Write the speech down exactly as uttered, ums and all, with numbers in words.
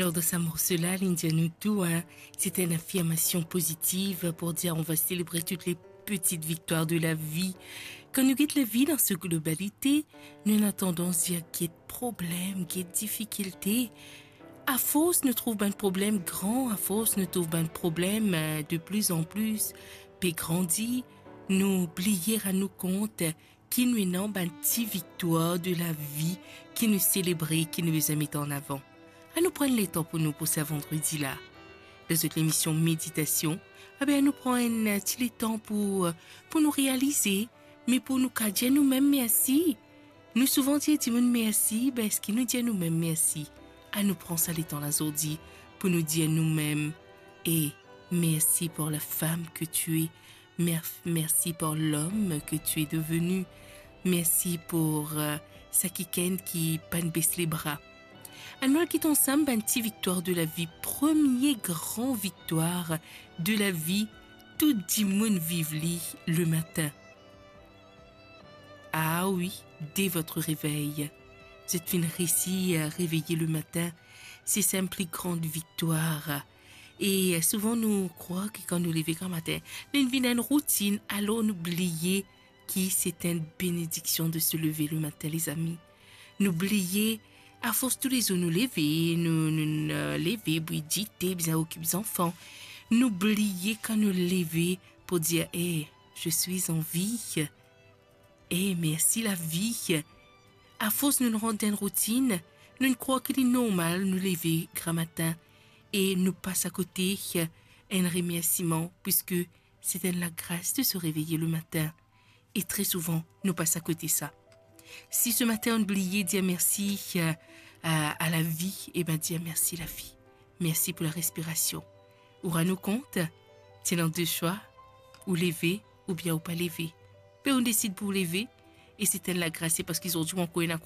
Alors, dans ce morceau-là, Lindia Noutou, hein, c'est une affirmation positive pour dire on va célébrer toutes les petites victoires de la vie. Quand nous guette la vie dans sa globalité, nou ena tandans dir get problem, get difikilte. Afors nou trouv bann problem gran, afors nou trouv bann problem, euh, de plus en plus pe grandi, nou bliye rann nou kont ki nou ena bann ti viktwar de la vi ki nou selebre, ki nou bizin met an avan. Anou pran letan pou nou pou sa vandredi la. Dan zot lemision Méditation, abe anou pran enn ti letan pou, pou nou realize, me pou nou kapav dir noumem mersi. Nou souvan dir dimoun mersi, be eski nou dir noumem mersi? Anou pran sa letan la zordi pou nou dir noumem, e mersi pour la femme que tu es, mer-, mersi pour l'homme que tu es devenu, mersi pour, euh, sa kikenn ki pa'nn bes lebra. Anou al get ansam bann ti viktwar de la vi. Premie gran viktwar de la vi, tou dimoun viv li lematin. Ah oui, dès votre réveil. Zot finn reisi a reveye lematin, se sa enn pli gran viktwar. E souvan nou krwar ki kan nou leve gramatin, li vinn enn routinn, alor nou bliye ki se enn benediksion de se lever le matin, lezami. Nou bliye, afors toulezour nou leve, nou, nou, nou leve, bwi dite, bizin okip zanfan. Nou bliye kan nou leve pou dir, "Eh, je suis en vie." Eh, mersi lavi. Afors nou rant dan enn routinn, nou krwar ki li normal nou leve gramatin e nou pas akote enn remersiman, piski se enn lagras de se reveye le matin. E tre souvan, nou pas akote sa. Si se matin ou bliye dir mersi, euh, a, a lavi, e be dir mersi lavi. Mersi pou la respirasion. Ou rann ou kont, ti ena de swa, ou leve oubien ou pa leve. Be ou desid pou leve, e se enn lagras, se parski zordi ou ankor ena